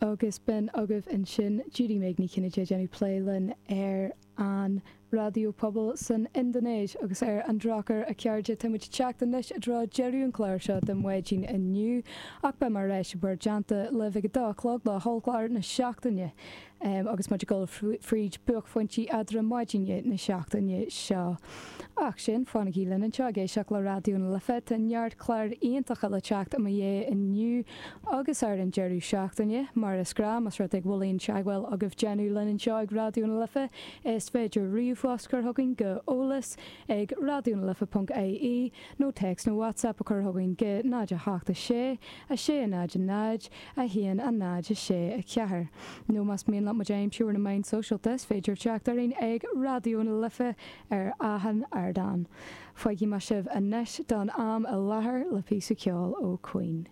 Agus b'in agaibh ansin Judy Meg Ní Chinnéide ag déanamh plé linn ar an raidió pobail san Indinéis agus ar an drochuair a chairde tá muid ag teacht anois i dtreo deireadh an chláir seo don mhaidin inniu ach beidh mé ar ais i bhur dteannta libh ag a dó a chlog le hollchlár na seachtaine. Agus muid ag dul fríd buaicphointí eadrom maidine na seachtaine seo. Ach sin, fanaigí linn anseo ag éisteacht le Raidió na Life, tá neart cláir iontacha le teacht i mo dhiaidh inniu agus ar an deireadh seachtaine. Mar is gnáth, más rud é go bhfuil aon teagmháil agaibh déanamh linn anseo ag Raidió na Life, is féidir ríomhphost chur chugainn go eolas ag raidionalife ponc ie nó téacs nó WhatsApp a chur chugainn go 0 8 6 6 0 0 1 0 6 4. Nó más mian leat muid a aimsiú ar na meáin sóisialta is féidir teacht orainn ag Raidió na Life ar achan ardán. Fágfaidh mé sibh anois don am i láthair le píosa ceoil ó Queen.